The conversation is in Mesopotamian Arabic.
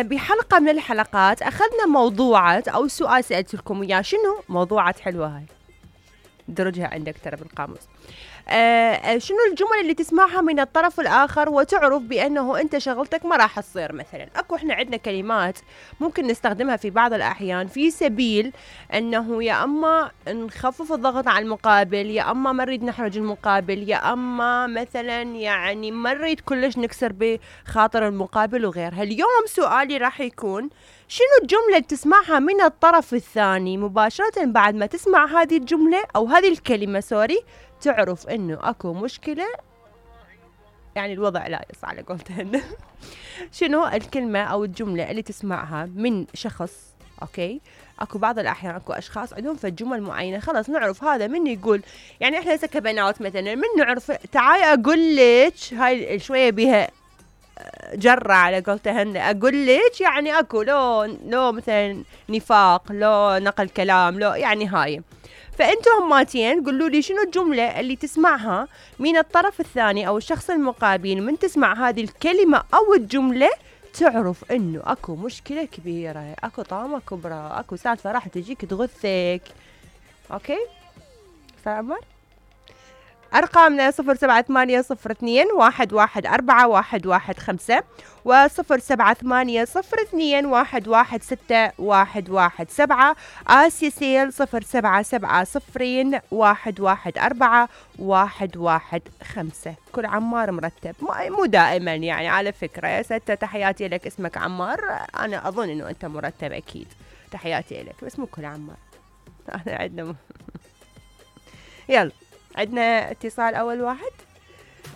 بحلقة من الحلقات أخذنا موضوعات أو سؤال سألت لكم إياه. شنو موضوعات حلوة هاي؟ درجها عندك ترى بالقاموس. شنو الجمل اللي تسمعها من الطرف الآخر وتعرف بأنه أنت شغلتك ما راح تصير؟ مثلا أكو إحنا عندنا كلمات ممكن نستخدمها في بعض الأحيان في سبيل أنه يا أما نخفف الضغط على المقابل، يا أما ما نريد نحرج المقابل، يا أما مثلا يعني ما نريد كلش نكسر بخاطر المقابل وغيرها. اليوم سؤالي راح يكون شنو الجملة اللي تسمعها من الطرف الثاني مباشرة بعد ما تسمع هذه الجملة أو هذه الكلمة تعرف إنه أكو مشكلة، يعني الوضع لا يص على قولتهن. شنو الكلمة أو الجملة اللي تسمعها من شخص؟ أوكي، أكو بعض الأحيان أكو أشخاص عندهم فالجمل معينة خلاص نعرف هذا من يقول، يعني إحنا هسه كبنات مثلا من نعرف تعالي أقول لك هاي شوية بها جرة على قولتهن، أقول لك يعني أكو لو مثلا نفاق، لو نقل كلام، لو يعني هاي. فأنتم هماتين قولوا لي شنو الجملة اللي تسمعها من الطرف الثاني أو الشخص المقابل من تسمع هذه الكلمة أو الجملة تعرف إنه أكو مشكلة كبيرة، أكو طامة كبرى، أكو سالفة راح تجيك تغثك. أوكي فعمر أرقامنا 078021141115 و0780211617 آسيا سيل 0770114115. كل عمار مرتب، مو دائما يعني، على فكرة يا ستة تحياتي لك، اسمك عمار، أنا أظن إنه أنت مرتب أكيد، تحياتي لك، بس مو كل عمار. أنا عندنا يلا عندنا اتصال أول واحد.